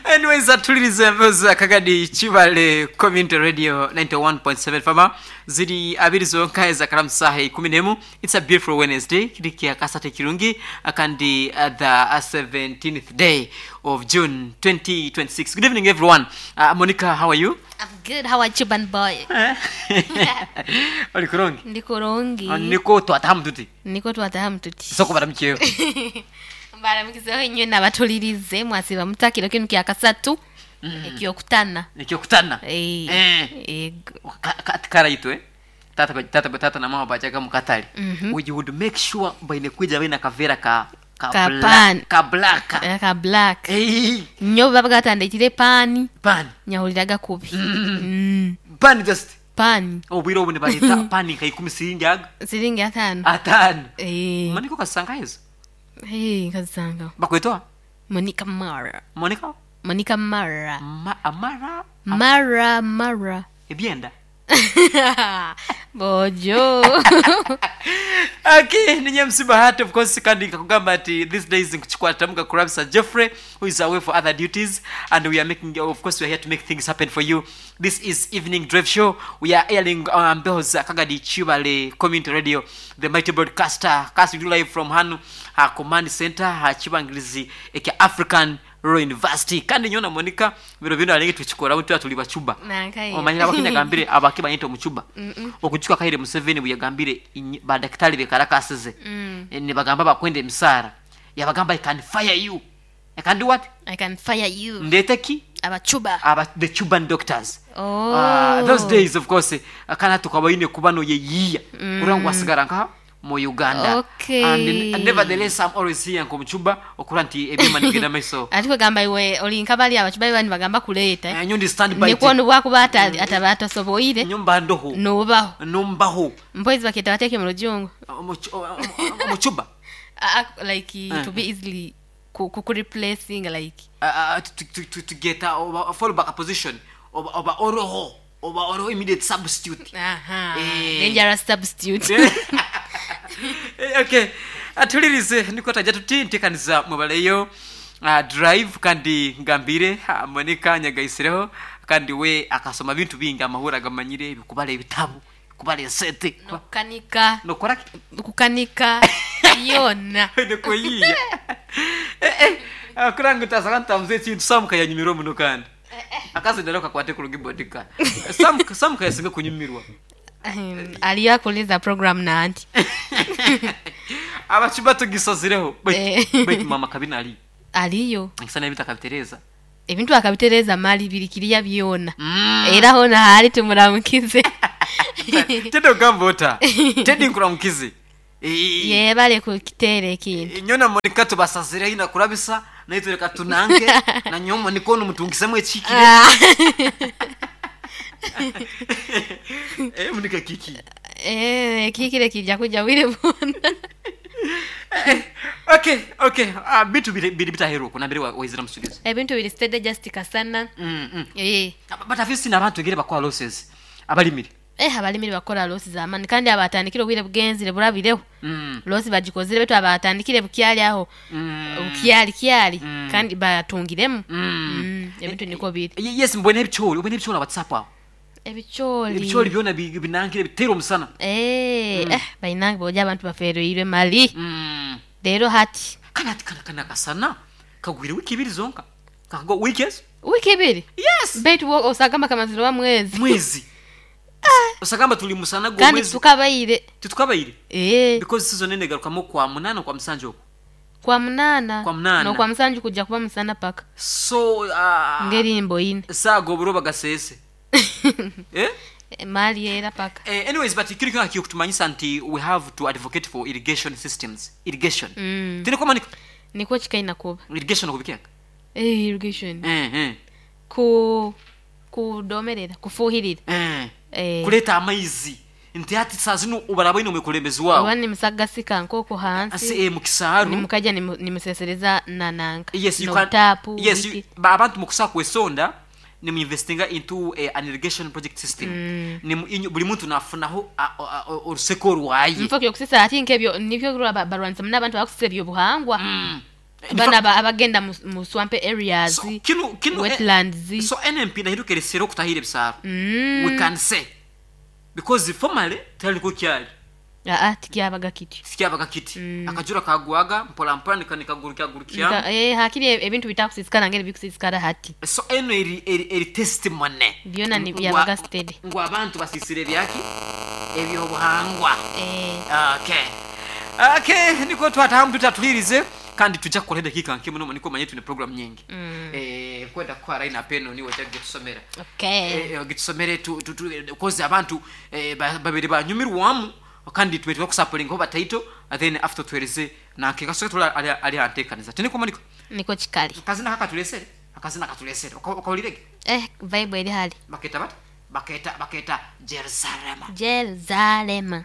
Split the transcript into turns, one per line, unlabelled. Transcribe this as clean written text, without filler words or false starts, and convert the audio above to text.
Anyways, atuliriza empewo za Kagadi Kibale Community Radio 91.7 fama ziri abiri zonka ezakala saha 11. It's a beautiful Wednesday, kiri kya kasate kirungi kandi the 17th day of June 2026. Good evening, everyone. Monica, how are you?
I'm good. How are you, ban boy?
Oli kurungi?
Ndi kurungi.
Niko twatahamu tuti.
Niko twatahamu tuti.
Soko baramukiyeho.
Mbaramukizeho inywe n'abatulirize mwasiba mutakiro kinu kya kasatu ekyokutana.
Ekyokutana.
Eh.
Eh.
Ego.
Karaitwe tata tata tata na mama bajaga mukatale.
Mhm.
We would make sure baine kwija baine akavera ka ka
Ka
black,
pan.
ka black.
Ka black.
Eh,
Nnyo baba gatandikire paani
pan.
nyahuliraga kubi.
Pan just
Paani
obwire obu nibaleta pani nka 10 siringi aga
siringi 5.
5.
Eh.
Monica kasanga ezo.
Eh, nkazisanga.
Bakwetoa
Monica Mara.
Monica
Monica Mara.
Ma, Amara
Mara Mara.
ebyenda.
Bojo.
Okay, ninye MC Bahati, of course, kandi nkakugamba ati these days nkuchikwatamuka kurabisa Jeffrey, who is away for other duties, and we are making, of course, we are here to make things happen for you. This is Evening Drive Show. We are airing on mbeho za Kagadi Chibale Community Radio, the mighty broadcaster, casting you live from Hanu, her command center, her Chibangirizi eke African Royal University. Kandi nyona Monica, bino bino alingi tuchikora mtu tuli bachuba.
Nankaye.
Omanyira abakenya gambire abakibanyita omucuba okucuka kaire Museveni bwe yagambire badakitari bekarakasize ne bagamba bakwenda emisara yabagamba, "I can fire you, I can do what?"
I can fire you.
Ndete ki?
Abacuba.
Aba the Cuban doctors.
Oh.
Those days, of course, kana tukabaine kuba no yeyiya kurangwa wasigara nka mu Uganda.
Okay.
And nevertheless, I'm always here nkomucuba okura nti ebyema nigenda maiso.
Ati kwegamba iwe oli nkabali abacuba bani bagamba kuleeta.
Nyondi stand by.
Nikwo bwakuba ataba atasoboire
nyumba ndoho
nubaho.
Numbaho.
Mpoizi baketa bateke mu rujungu.
Omucuba.
Like to be easily ku replacing like
to get a fallback position oba oroho oba oroho immediate substitute.
Aha.
Eh.
Dangerous substitute.
Okay, atulirize niko tajja tuti ntekaniza mubaleyo drive kandi ngambire Monica nyagaisireho kandi we akasoma bintu bingi amahura agamanyire bikubala ebitabo kubala esente.
Nokukanika.
Nokora ki?
Kukanika yona.
Nikoyiya kuranga utasaka ntamuze ekintu samuka yanyumirwa muno kandi akazindalo kakwate kuruga ibodika samuka yasinga kunyumirwa.
Aliyo akoleza program nanti.
Abacuba tugisazireho.
Eh.
Baitu mama kabina ali
Aliyo.
nkisana ebintu akabitereza.
Ebintu akabitereza mali biri kiriya byona. Era hona hali tumuramukize.
Tedi ogamba ota Tedi nkuramukize.
Yebale kukiteera ekintu.
Nyona Monica tubasazireho ina kurabisa naye reka tunange na nyowe Monica ono mutungisemu ekikire.
Ah.
Eh, Monica kiki?
Eh, kikire kijja kujja bwire bwona.
Okay, bintu biri biri bitaheruka nambere waizira musubizo.
Ebintu biri steady just kasana. Eh.
But have you seen abantu egere bakola losses abalimire?
Eh, abalimire bakola losses zamani kandi abatandikire obwire bugenzire burabireho. Losi bagikozire betu abatandikire bukyali aho. Bukyali kyali kandi batungiremu. Ebintu niko biri.
Yes, mbone ebikyoli, ubone ebikyoli WhatsApp aho.
Ebikyoli.
Ebikyoli byona binangire bitera omusana.
Eh, eh, bainange boja abantu bafereirwe mali. Rero hati.
Kana kana kana kasana kagwire wiki ibiri zonka. Kago wiki ezo?
Wiki ibiri?
Yes.
Betu osagamba kamaziro wa mwezi.
Mwezi. Osagamba tuli musana go
kandi
mwezi.
Tukabaire.
Tutukabaire.
Eh.
Because season nene garukamo kwa munana kwa musanju okwo.
Kwa munana.
Kwa munana.
No kwa musanju kujja kuba musana paka.
So
ngeri mboine.
Sago buroba gasese. Eh?
Mali era paka.
Anyways, but kiri kino kikutumanyisa nti we have to advocate for irrigation systems. Irrigation. Tine kwa manika?
Niko chikaina kuba.
Irrigation okubikeka?
Eh, irrigation.
Eh, eh.
Kudomerera, kufuhirira.
Eh.
Eh.
Kuleta amaizi. Nti ati saa zino obaraba ino mukulembezi wawo.
Oba nimusagasika nkoko hansi.
Ase mukisaaru.
Nimukaja nimusesereza nananka.
Yes, you
no
can.
Tapu,
yes,
wiki.
You, ba abantu mukusa kwesonda nimuinvestinga into an irrigation project system. Buli muntu nafunaho oruseko rwaye.
Mfo kyo kusisa ati nkebyo nibyo barwanza muna abantu bakusisa ebyo buhangwa. Bana abagenda mu swamp areas,
So, kinu
wetlands.
So NMP nahiruka eresere okutahira ebisaro, we can say, because formally taliko kyali.
Aa, tikyabaga kityo.
Sikyabaga kiti. Akajura kagwaga mpola mpola nikagurukya.
Hakiri ebintu bitakusisikara ngeri bikusisikara hati.
So eno eri testimony.
Byona ni byabaga steady.
Ngu abantu basisire ebyaki ebyobuhangwa. Okay, niko twatahamu tutatulirize kandi tujja kukola edakika nke muno, niko manye tune program nyingi. Kwenda kukwara ina peno niwe ojja kutusomera.
Okay.
Gitusomere kozi abantu babiri banyumirwamu kandi tube twakusapolinga bataito, and then after tuwereze nanke kasoke tula ali antekaniza tiniko Monica.
Niko kikali.
Akazina kakatulesere, akazina katulesere okawulirege.
Vibe eri hali.
Baketa bata baketa Jerusalema.
Jerusalema.